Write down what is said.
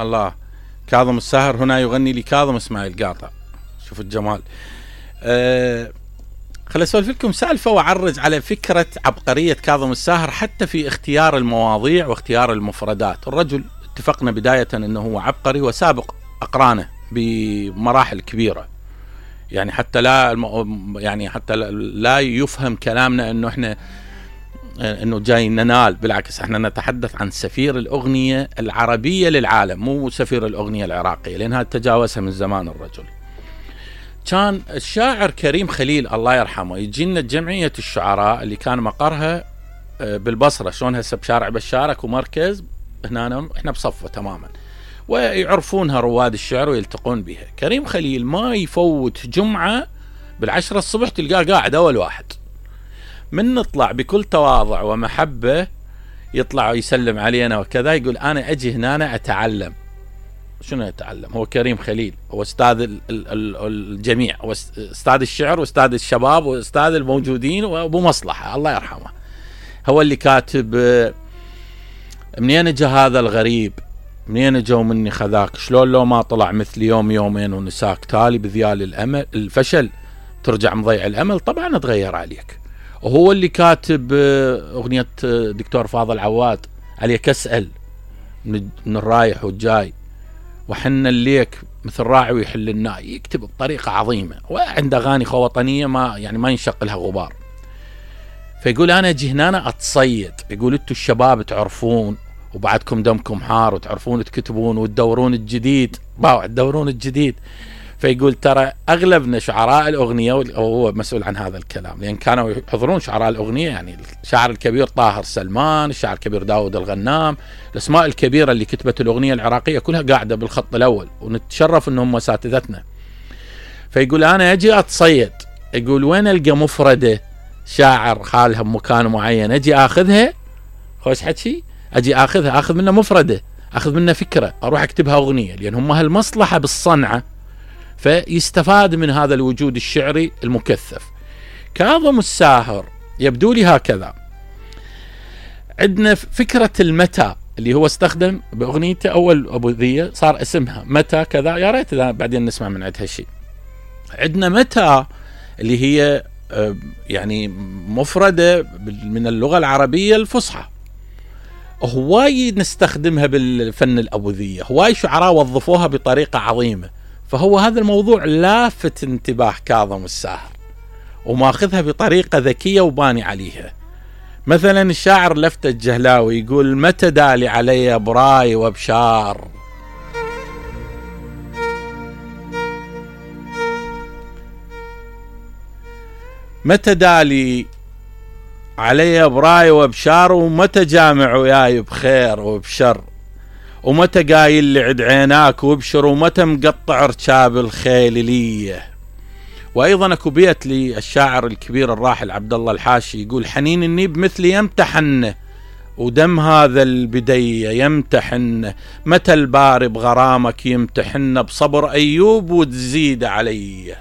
الله. كاظم الساهر هنا يغني لكاظم اسماعيل قاطع. شوف الجمال. خليني اسولف لكم سالفه واعرج على فكره عبقريه كاظم الساهر حتى في اختيار المواضيع واختيار المفردات. الرجل اتفقنا بدايه انه هو عبقري وسابق اقرانه بمراحل كبيره، يعني حتى لا يفهم كلامنا انه احنا انه جاي ننال، بالعكس احنا نتحدث عن سفير الاغنيه العربيه للعالم، مو سفير الاغنيه العراقيه، لانها تجاوزها من زمان الرجل. كان الشاعر كريم خليل الله يرحمه يجي لنا جمعيه الشعراء اللي كان مقرها بالبصره، شلون هسه بشارع بشارك ومركز، هنا احنا بصفه تماما، ويعرفونها رواد الشعر ويلتقون بها. كريم خليل ما يفوت جمعه بال10 الصبح تلقاه قاعد اول واحد، من نطلع بكل تواضع ومحبه يطلع ويسلم علينا وكذا، يقول انا اجي هنا اتعلم. شنو يتعلم؟ هو كريم خليل هو استاذ الجميع، هو استاذ الشعر واستاذ الشباب واستاذ الموجودين وابو مصلحه الله يرحمه. هو اللي كاتب منين اجى هذا الغريب، منين اجوا مني خذاك، شلون لو ما طلع مثل يوم يومين ونساك، تالي بذيال الامل الفشل ترجع مضيع الامل، طبعا اتغير عليك. وهو اللي كاتب اغنيه دكتور فاضل عواد عليك اسال من الرايح والجاي، وحنا الليك مثل راعي ويحل الناي، يكتب بطريقه عظيمه، وعنده اغاني وطنيه ما ينشق لها غبار. فيقول انا اجي هنا اتصيد، يقول انتم الشباب تعرفون وبعدكم دمكم حار وتعرفون تكتبون وتدورون الجديد، تدورون الجديد. فيقول ترى اغلبنا شعراء الاغنيه، وهو مسؤول عن هذا الكلام لان كانوا يحضرون شعراء الاغنيه، يعني الشاعر الكبير طاهر سلمان، الشاعر الكبير داود الغنام، الاسماء الكبيره اللي كتبت الاغنيه العراقيه كلها قاعده بالخط الاول، ونتشرف انهم اساتذتنا. فيقول انا اجي اتصيد، يقول وين القى مفرده شاعر خالها بمكان معين اجي اخذها، خوش حكي، اجي اخذها، اخذ منها مفرده، اخذ منها فكره، اروح اكتبها اغنيه، لان هم هالمصلحه بالصنعه، فيستفاد من هذا الوجود الشعري المكثف. كاظم الساهر يبدو لي هكذا. عندنا فكرة المتى اللي هو استخدم بأغنيته أول أبوذية، صار اسمها متى كذا، يا ريت بعدين نسمع من عندها شيء. عندنا متى اللي هي يعني مفردة من اللغة العربية الفصحى، هواي نستخدمها بالفن الأبوذية، هواي شعراء وظفوها بطريقة عظيمة. فهو هذا الموضوع لافت انتباه كاظم الساهر وماخذها بطريقة ذكية وباني عليها. مثلا الشاعر لفتة الجهلاوي يقول متى دالي علي براي وبشار، متى دالي علي براي وبشار، ومتى جامع وياي بخير وبشر، ومتى قايل لي عد عيناك وابشر، ومتى مقطع ركاب الخيلية. وايضا اكو بيت للشاعر الكبير الراحل عبد الله الحاشي يقول حنين النيب مثلي يمتحن، ودم هذا البدية يمتحن، متى الباري بغرامك يمتحن، بصبر ايوب وتزيد علي.